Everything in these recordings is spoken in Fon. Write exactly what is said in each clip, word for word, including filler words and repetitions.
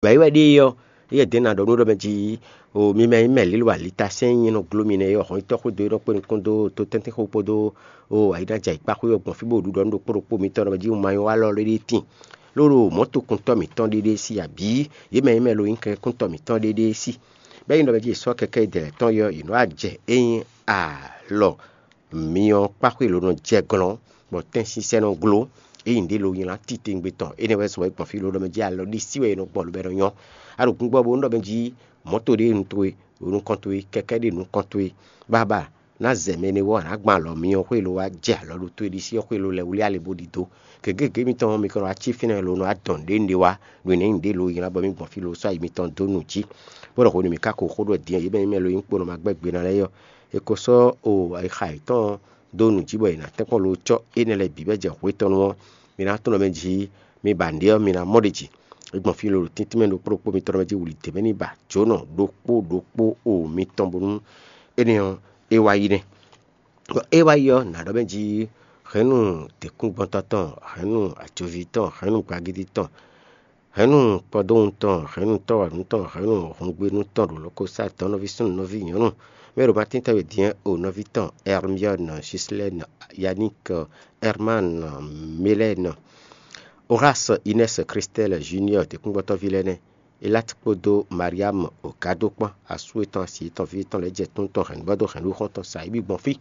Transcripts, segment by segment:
Bɔ é wɛ ɖée ɔ́, éyɛ́ dɛ̌n ná ɖɔ nú ɖɔ mɛ jí, o mi mɛ nyí mɛ lílo alitasɛ́n e nyí nɔ gló mi nɛ́ é ɔ́, hɔn nyitɔ́ xwedó é nɔ kpé nukún dó to tɛ́ntin xó kpódó o ayǐnájà yǐkpáxwé ɔ́ gbɔn fí bó ɖu ɖɔ nú ɖokpó ɖokpó mitɔn ɖɔ mɛ jí un ma nyí walɔ ɖéɖéé tíin. Ló ɖo mɔ̌tokuntɔ́ mǐtɔn ɖéɖéé sí abǐ yě mɛ nyí mɛ lo nyí kɛkúntɔ́ mǐtɔn ɖéɖéé sí. Bɔ é nyí ɖɔ mɛ jí è sɔ́ kɛkɛ́ dɛ̌ tɔn é ɔ́, yě nɔ wá jɛ é nyí alɔ myɔ kpáxwé lo nɔ jɛ glɔ́n, bɔ tɛ́nsínsɛ́n nɔ gló, é nyí ɖě lo nylá titewungbe tɔn. Énɛ́ wɛ zɔn wɛ gbɔn fí lo ɖɔ mɛ jí alɔ ɖisí wɛ è nɔ gbɔn lo bɔ è nɔ nyɔ́. A ɖo gbígbɔ bónú ɖɔ mɛ jí mɔ̌to ɖé nu towe, ɖo nukɔn towe, kɛkɛ́ ɖé nukɔn towe, bábá ná zɛ mɛ énɛ́ wú ɔ́, a nǎ gbɔn alɔ myɔ xwé lo wá jɛ alɔ ɖo towe ɖisí ɔ́ xwé lo lɛ́ wlí alɛ bó ɖidó. Gěgé mitɔn ɔ́, mi ka nɔ wá cí fínɛ́ lo nɔ wá dɔn nǔɖé nǔɖé wá, ɖo nɛ̌ nyí ɖě lo nylá bɔ mì gbɔn fí lo sɔ́ ayi mitɔn dó nǔ jí. Bó ɖɔ hwenu mǐ ka ko xó ɖɔ din ɔ́, yě mɛ nyí mɛ lo nyí kpo nɔ ma gbɛ́ gbe ná lɛ́ɛ ɔ́, è ko sɔ́ o ayixa yětɔn dó nǔ jí bɔ è nǎ tɛ́nkpɔ́n lo cɔ́ énɛ́ lɛ́ɛ bǐ bɔ é jɛ hwetɔ́nu ɔ́, mi ná tunwun mɛ jí mi ba nǔɖé ɔ́, mi ná mɔ ɖě jí. É gbɔn fí lo ɖo tíntín mɛ ɖokpó ɖokpó mitɔn mɛ jí wǔlí dě mɛ ní ba jǒnɔ ɖokpó ɖokpó o mitɔn bónú énɛ́ ɔ́, é wá yi nɛ́. Bɔ é wá yi ɔ́, nǎ ɖɔ mɛ jí hɛ̌nnu děkúngbɔ́ntɔ́ tɔn, hɛ̌nnu ajoví tɔn, hɛ̌nnu gbagidi tɔn, hɛ̌nnu kpɔdóhun tɔn, hɛ̌nnu tɔ́wanu tɔn, hɛ̌nnu hɔngbénu tɔn ɖo lɔkɔsá tɔn nɔví súnnu nɔví nyɔ̌nu. Mɛ ɖo Matín tɛ́ wɛ din o nɔví tɔn Ɛrmiɔ́nɔ, Jislɛ́nɔ, Yaník, Ɛrmán, Milɛ́nɔ, Oráas, Inɛ́s, Kristɛ́l, Juniɔ́ɔ, dǐkúngbɔ́tɔ́ví lɛ́ɛ nɛ́. Eláti kpódó Mariámu Ogádo kpán, asú yětɔn, asi yětɔn, ví yětɔn lɛ́ɛ jɛ tún tɔn hɛ̌nnu bɔ dó hɛ̌nnu xɔ́ntɔn sa yí bǐ gbɔn fí,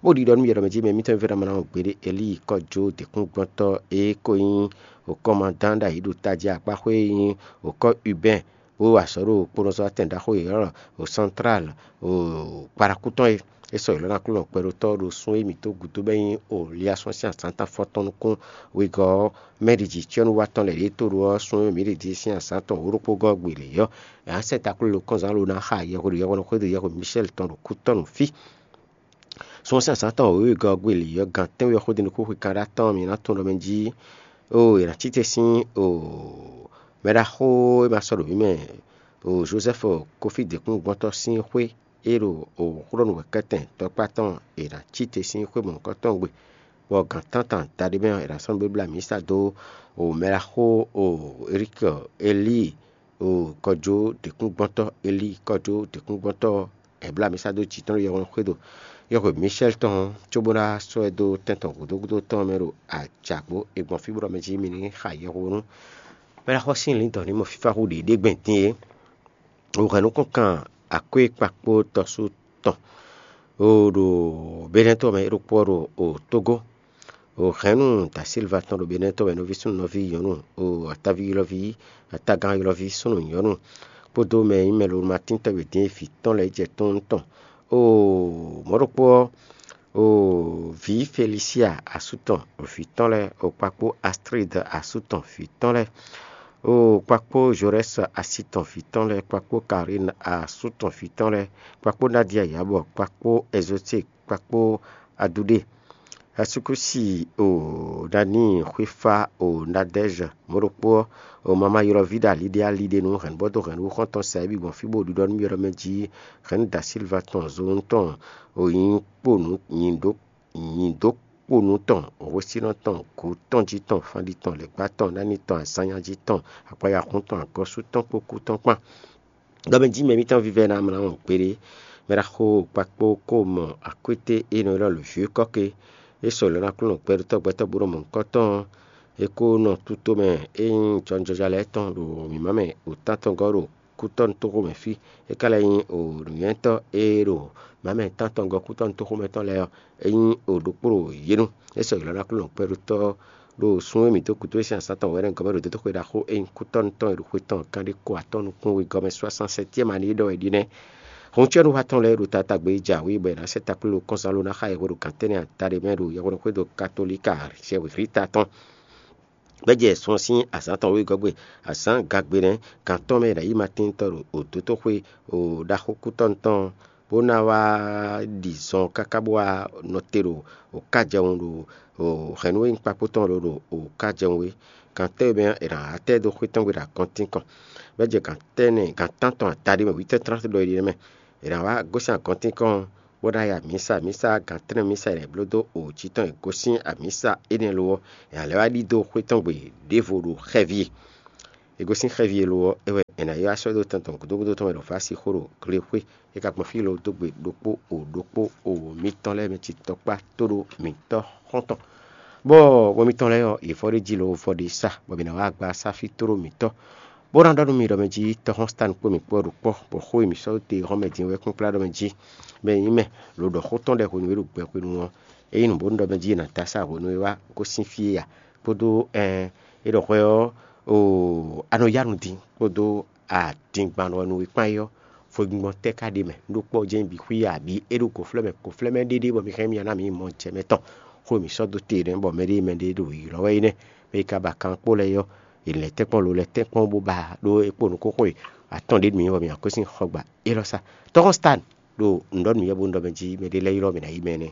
bó ɖiɖɔ nú yě ɖɔ mɛ jí mɛ mítɔn e vɛ́ ná mlá gbéɖé Elíi kɔ́ jó dǐkúngbɔ́tɔ́ e ko nyí kɔ́mandán ɖ'ayǐ ɖo tají akpáxwé e nyí kɔ́ Ubɛ́n, bó wa azɔ̌ ɖo kponɔzɔ́watɛn ɖaxó yěɖɔ́ ɖo Santlál, ɖo kpaɖakú tɔn é. É sɔ́ yě lɔ́ ná Aklúnɔ kpɛɖotɔ́ ɖo sún e mǐ dó gǔdo bɔ é nyí Liasɔ́n sín azǎn tɔn afɔtɔn nukún wegɔ́ ɔ́ mɛ ɖi jǐ cyɔ́núwatɔ́n lɛ́ɛ ɖě tó ɖó ɔ́, sún e mǐ ɖi din sín azǎn tɔn wǒ ɖokpó gɔ́ gbe lě ɔ́, è nǎ sɛ́ takló lo kɔ́nzán lo ná xa yɛhweɖo yɛhweɖɔ xwédo yɛhwe Michɛ́l tɔn ɖo kú tɔn nú fí. Sún sín azǎn tɔn wěwegɔ́ gbe lě ɔ́, gan tɛ́nwe ɔ́ xwedó nukún xwe kanɖá tɔn mǐ ná tunwun ɖɔ mɛ jí, oo, è nǎ cí te sín, oo, mɛɖaxó e ma sɔ́ ɖo mǐ mɛ, oo, Jozɛ́fu Kofí dǐkúngbɔ́ntɔ́ sín xwé e ɖo xó ɖɔ nú wɛ̌kɛ́tɛn tɔkpá tɔn e è nǎ cí te sín xwé mɔ̌hunkɔtɔn gbe, bɔ gǎn tántɔn adaɖé mɛ ɔ́, è nǎ sɔ́ nǔ bó blá mǐsa dó mɛɖaxó Elíi, Elíi kɔjó dǐkúngbɔ́ntɔ́, Elíi kɔjó dǐkúngbɔ́ntɔ́ ɔ́, è blá mǐsa dó jǐ tɔn ɖo yɛhweɖɔ xwédo yɛhwe Mishɛ́l tɔn ɔ́, cóbó ná sɔ́ ɛ dó tɛn tɔn gǔdo gúdo tɔn ɔ́ mɛ ɖo ajǎgbó. È gbɔn fí bó ɖɔ mɛ jí mi ní xa yɛhweɖɔ nú mɛɖaxó sín lǐndɔ̌n ní mɔ fífá hú ɖě ɖé gbɛn din é. Wǔhɛn nukɔn kan akwékpakpó tɔsú tɔn ɖo Benɛ́tɔ́ mɛ é ɖokpó ɔ́ ɖo Tógó. Wǔhɛn nú Da Silva tɔn ɖo Benɛ́tɔ́ mɛ nɔví súnnu nɔví nyɔ̌nu, atáví ylɔ́ví, atagán ylɔ́ví súnnu nyɔ̌nu kpódó mɛ e nyí mɛ lolomɛ atíntɔ́ e din e vǐ tɔn lɛ́ɛ jɛ tɔn tɔn. Mɔ̌ ɖokpó ɔ́, vǐ Felisia asú tɔn, vǐ tɔn lɛ́ɛ, kpakpó Astrid asú tɔn vǐ tɔn lɛ́ɛ, kpakpó Jorɛ́s asi tɔn vǐ tɔn lɛ́ɛ, kpakpó Karin asú tɔn vǐ tɔn lɛ́ɛ, kpakpó Nadia Yabɔ, kpakpó Ɛzote, kpakpó Aduɖe. Asúkúsi o Dani xwéfá o Nadɛ́zɛ mɔ̌ ɖokpó ɔ́, o mama ylɔ́ví ɖo aliɖé aliɖé nú hɛ̌nbɔ́dó hɛ̌nnu xɔ́ntɔn sa é bǐ gbɔn fí bó ɖiɖɔ nú mì ɖɔ mɛ jí hɛ̌nnu Da Silva tɔn zonu tɔn, o nyǐ kponu nyǐ dó nyǐ dó kponu tɔn, hwesínɔ tɔn, gǔ tɔn jí tɔn, fanɖi tɔn, lɛ̌gbá tɔn, nání tɔn, azánnyájí tɔn, akpayaxún tɔn, agɔ́sú tɔn kpó kú tɔn kpán. Ɖɔ mɛ jí mɛ mǐtɔn vívɛ́ ná mlá wɔn kpéɖé, mɛ ɖaxó kpakpó kó mɔ akwété e nɔ ylɔ́ lǒ vyɔ́ kɔ́ ké, é sɔ́ lɔ̌ ná Aklúnɔ gbɛɖotɔ́ gbɛtɔ́ bó nɔ mɔ nukɔn tɔn ɔ́, é kó nɔ tútó mɛ e nyí jɔnjɔja lɛ́ɛ tɔn ɖo mǐmá mɛ ɖo tántɔngɔ́ ɖo kútɔ́nútóxo mɛ fí. É ka lɛ́ nyí nǔnywɛ́tɔ́ e ɖo mǎmɛ tántɔngɔ́ kútɔ́nútóxo mɛ tɔn lɛ́ɛ ɔ́, é nyí ɖokpó ɖo yě nu. É sɔ́ ylɔ́ ná Aklúnɔ gbɛɖotɔ́ ɖo sun e mǐ dó gǔdo é sín azǎn tɔn wɛ̌nɛ́ gɔ́ mɛ ɖo dotoxwe ɖaxó e nyí kútɔ́nú tɔn e ɖo xwe tɔn kanɖé kó atɔ́ɔ́n nukún wegɔ́ mɛ soixante-septième année é ɖɔ wɛ ɖi nɛ́. Hɔncuɛ́núhatɔn lɛ́ɛ ɖo taatagbe e jǎwe bɔ è nǎ sɛ́ takló kɔ́nzán ló ná xa yɛhweɖo gǎn tɛ́nnɛ adaɖé mɛ ɖo yɛhweɖɔxwédo katolíka Rita tɔn. Bɔ é jɛ sun ɔ́ sín azǎn tɔn wegɔ́ gbe, azǎn gagbe nɛ́, gǎn tɔn mɛ è nǎ yí Matín tɔn ɖo dotoxwe ɖaxó kútɔ́nú tɔn, bó ná wá ɖi zɔn káká bó wá nɔ te ɖo kájɛwun ɖo hɛ̌nnu e nyí kpakpó tɔn lǒ ɖo kájɛwun é. Gǎn tɛ́nwe mɛ ɔ́, è nǎ wá tɛ́ dó xwé tɔn gbe ɖo agɔntín kɔn. Bɔ é jɛ gǎn tɛ́nnɛ gǎn tántɔn adaɖé mɛ huit heures trente ɖɔ é ɖi nɛ́ mɛ. È nǎ wá gosín agɔntín kɔn, bó ná yi amǐsa, amǐsa gǎn tɛ́nnɛ mísa è nǎ bló dó jǐ tɔn e gosín amǐsa énɛ́ lo ɔ́, è nǎ lɛ́ wá ɖidó xwé tɔn gbe ɖěvo ɖo xɛví e. È gosín xɛví e lo ɔ́, é wɛ è nǎ ylɔ́ asɔ́ dó tɔn tɔn gǔdo gúdo tɔn mɛ ɖo Vasi xó ɖo gle xwé. É ka gbɔn fí lo dó gbe ɖokpó o ɖokpó o mǐtɔn lɛ́ɛ mɛ ci tɔkpá tóɖó mǐtɔn xɔ́ntɔn. Bɔ hwɛ mitɔn lɛ́ɛ ɔ́, yě vɔ ɖ'é jí lo vɔ ɖ'é sa, bɔ mǐ ná wá agba sá fí tóɖó mǐtɔn. Bó ná ɖɔ nú mi ɖɔ mɛ jí tɔ́xɔ́n Sitáni kpó mǐ kpó ɔ́ ɖo kpɔ́, bɔ xó e mǐ sɔ́ dó te hɔn mɛ din wɛ kpɔ́n kplá ɖɔ mɛ jí mɛ nyí mɛ lo ɖɔ xó tɔn ɖɛ hwenu e ɖo gbɛ hwenu ɔ́, é nyí nǔ bónú ɖɔ mɛ jí è nǎ dó asá hwenu e wá gosín fí é a? Kpódó ɛn é ɖɔ hwɛ ɔ́, oo, a nɔ yá nu din kpódó adingban ɔ́ nu e kpán é ɔ́, fwegbingbɔn tɛ́ ka ɖ'é mɛ? Nú ɖokpó ɔ́ jɛ́n bǐ xwí abǐ é ɖo gǒflɛ́mɛ gǒflɛ́mɛ ɖéɖé bɔ mi hɛn mì ná mǐ mɔ jɛ mɛ tɔn, xó e mǐ sɔ́ dó te nɛ́, bɔ mɛɖé mɛɖé ɖo ylɔ́ wɛ é nɛ́. Mɛ e ka ba kan kpó lɛ́ɛ ɔ́, è lɛ̌ tɛ́nkpɔ́n lo lɛ́ tɛ́nkpɔ́n bó ba ɖó é kpo nukúnxwe atɔ́ɔ́n ɖé nú mì bɔ mǐ ná gosín xɔ gba élɔ́ sá. Tɔ́xɔ́n Sitáni ɖo nǔ ɖɔ nǔ yɛ bó nú ɖɔ mɛ jí mɛɖé lɛ́ɛ ylɔ́ mǐ ná yi mɛ nɛ́.